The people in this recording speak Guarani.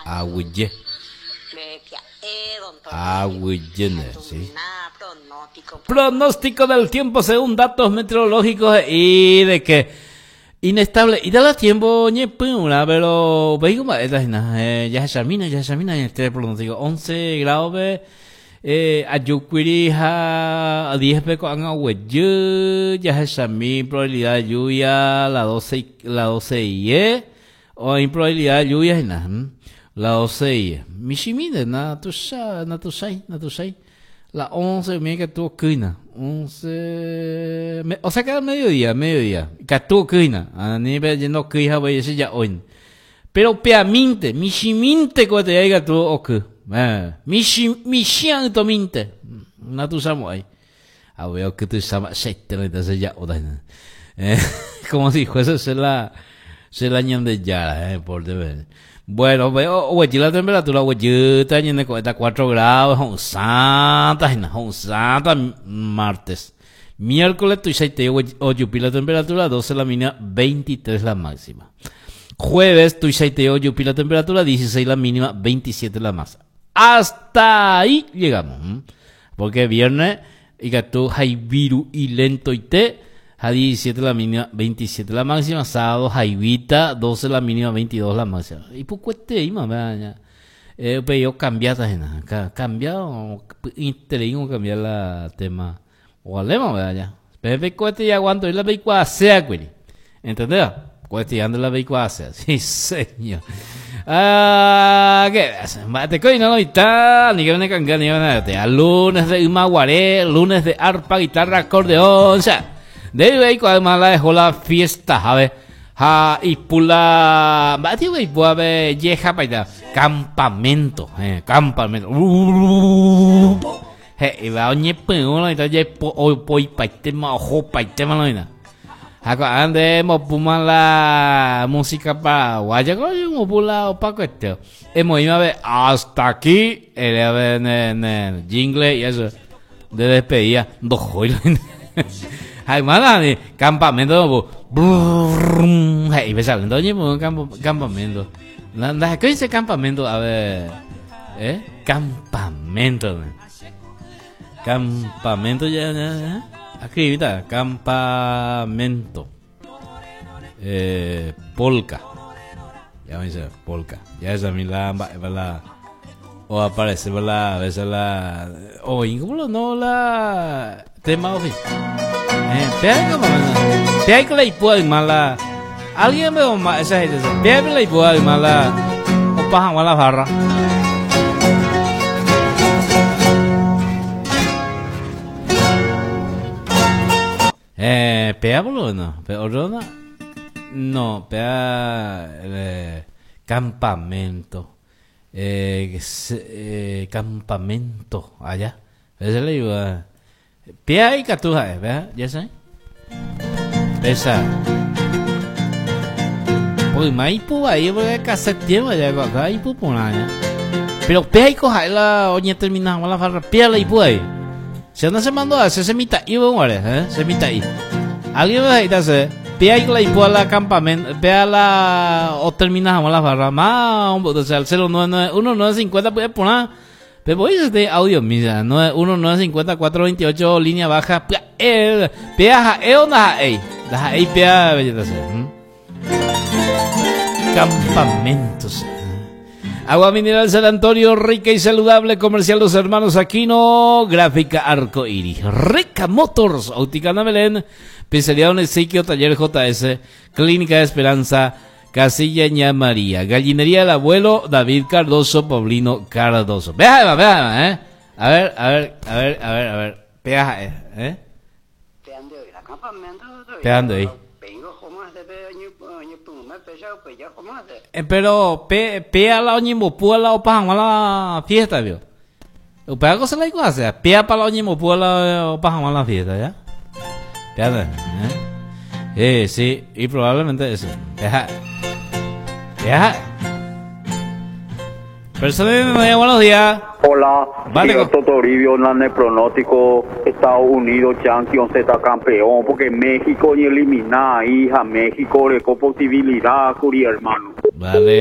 Aguyje. Aguyje nde, sí. Pronóstico del tiempo según datos meteorológicos he'i de que inestable y da tiempo ñepyrũrã pero upéi mba'éta hína jahechamína jahechamína añete pronóstico 11 grado-pe eh, ajukuiri ha 10-pe ko'ág̃a oguejy jahechami probabilidad de lluvia la 12 la 12 ie Oĩ probabilidad de lluvia hína, la 12 y michĩmínte, natuicha, natuichái, natuichái. La 11 umi ikatu okýina, 11, o sea que al mediodía, mediodía, ikatu okýina, ani pe ndokýi hague che ja'óina. Pero upeamínte, michĩmínte ko'ẽteha ikatu oky, michĩ, michĩ aỹtomínte, natuichamo'ãi. Avei oky tuicha mba'eichaite oĩta che ja'óta hína. Como si fuese che la, che la Ñandejára, por Dios. Bueno, oguejy la temperatura, oguejýta ñane ko'ẽta 4 grados, ho'ysãta hína, ho'ysãta martes. Miércoles tuichaite ojupi la temperatura, 12 la mínima, 23 la máxima. Jueves tuichaite ojupi la temperatura, 16 la mínima, 27 la máxima. Hasta ahí llegamos. Porque viernes ikatu hayviru'i lentoite ha 17 la mínima, 27 la máxima, sábado hayvíta, 12 la mínima, 22 la máxima. Ipukueteíma péva eh, upéi okambiáta hína, kambia py'ỹiterei okambia la tema. Ovaléma péva ja. Peẽ peikuaáte aguantoi la peikuaaséakuri. Entendéva? Cuestión de la peikuaasea. Sí, señor. Ah, ¿qué ves? Mba'eteko ina noita, ni que ne kanga ni que ne Lunes de Ymaguare, lunes de arpa, guitarra, acordeón, o sea, de ahí además la dejó la fiesta, ¿sabes? Ha ipula, mba'e ipu ave yeja paita, campamento, eh, campamento. He'íva oñepyrũ noita jepo opoipaitéma ohopaitéma noina. Ha ko'ág̃a nde emopúma la música paraguaya, ko emopu la opakuete. Emoĩma pe hasta aquí, ere ave ne, ne jingle y eso. Nde despedida, ndohói la Ha yma nani, campamento emopu. Brrrr, he'i pe chalento oñepyrũ campo, campamento. Ndahekói che campamento ave, eh, campamento. Campamento ya, ya, ya. Escribita, campamento. Eh, polka. Ya me dice, polka. Ya esa mi la mba'épa la o aparece la a veces la o ¿cómo no la tema ofi. Eh, pea como pea que la ipua mala. Alguien me ma esa gente, pea la ipua mala o paja la farra. Eh, pea boludo, no. Pe otro no. No, pea eh, campamento. Eh, eh, campamento allá. Ese le digo. Pea ikatu ha'e, vea, ya sé. Esa. Pues yma ipu vai porque cassette tiempo ya acá ipu porã ya. Pero pea iko ha'e la oñetermina hag̃ua la farra, pea la ipu vai. Che no se mandó a hacer, se mitã'i guare, eh, se mitã'i. Alguien me he'íta che, pea iko la ipu a la campamento, pea la otermina hag̃ua la farra, ma ombo'ýta che al 099 1950 pya'e porã. Pe voi este audio misa, 9 1 9 54 28 línea baja, pya'e, pea ha'e o ndaha'éi, ndaha'éi pea belleza se. Campamentos. Agua mineral San Antonio, rica y saludable, comercial Los Hermanos Aquino, gráfica Arco Iris, Rica Motors, Óptica Ana Belén, Pizzería Don Ezequiel, Taller JS, Clínica de Esperanza, Casilla Ña María, Gallinería del Abuelo, David Cardoso, Paulino Cardoso. Vea, vea, eh. A ver, a ver, a ver, a ver, a ver. Vea, eh. eh. Peando ahí. Eh, pero pe pe a la oñembopu a la opa hag̃ua la fiesta vio. Upéva ko se la ikuaasea. Péapa la oñembopu la opa hag̃ua la fiesta, ya. Péate, eh. Eh, sí, y probablemente eso. Deja. Deja. Persona buenos días. Hola, vale, cierto Toribio, en el pronóstico Estados Unidos Champions está campeón porque México ni elimina hija México le posibilidad, curi hermano. Vale.